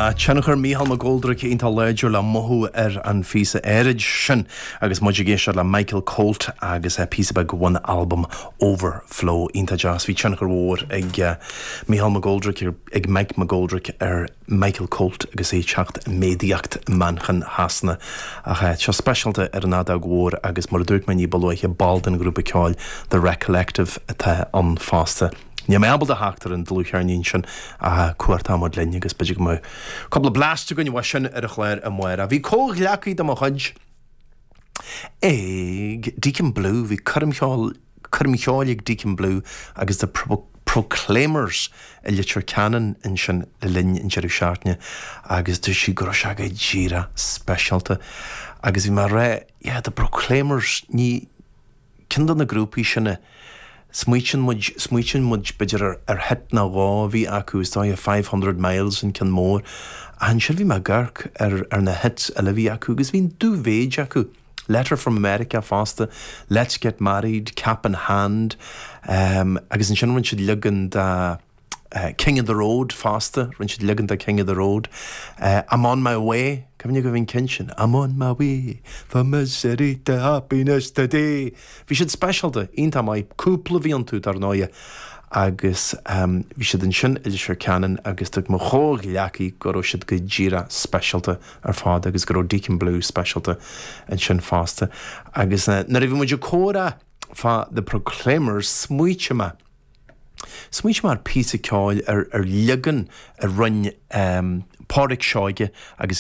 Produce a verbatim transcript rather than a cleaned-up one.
Tá tionchar Mícheál McGoldrick iontach láidir le mothú ar an phíosa áirid sin agus muid ag éisteacht le Michael Colt agus píosa beag ón albam Overflow iontach deas bhí tionchar mhór ag uh, Mícheál McGoldrick ag Mike McGoldrick ar Michael Colt agus é teacht méadaíocht Manchain Shasana ach uh, seo speisialta ar an fheadóg mhór agus mar a dúirt mé ní ba luaithe ball den ghrúpa ceoil The Recollective atá ann fosta. Ní mé ábalta theacht ar an dlúthcheirnín sin a cuartamod linn agus b'fhéidir go mbeidh cúpla blast againn uaidh sin ar an chlár amárach. Bhí comhghleacaí de mo chuid ag Deacon Blue bhí coirm cheoil ag Deacon Blue agus the Pro Proclaimers i Leitir Ceanainn ansin le linn an deireadh seachtaine agus dúirt sí go raibh sé go díreach speisialta agus bhí mé rá yeah, the Proclaimers ní ceann de na grúpaí sinne Smaoitíonn muid smaoitíonn muid b'fhéidir ar, ar hit nó dhó a bhí acu is dóigh five hundred miles an ceann mór. Ansin bhí mé ag amharc ar, ar na hits eile bhí acu agus bhí dúmhéid acu. Letter from America fosta, Let's Get Married, Cap in Hand, um, agus ansin rinne siad leagan de uh, King of the Road fosta, rinne siad leagan de King of the Road. Uh, I'm on my way, Cuimhin go bhín cinsin, I'm on my way from misery to happiness today. Bhí siad speisialta iontach maith cúpla bhí iontu dar ndóigh agus um, bhí siad ansin i Leitir Ceanainn agus dúirt mo chomhghleacaí go raibh siad go díreach speisialta ar fad agus go raibh Deacon Blue speisialta ansin fosta. Agus uh, nuair a bhí muid ag comhrá fá the Proclaimers smaointigh mé. Smaointigh mé ar píosa ceoil ar ar leagan a rinne um, Pádraic Seoige agus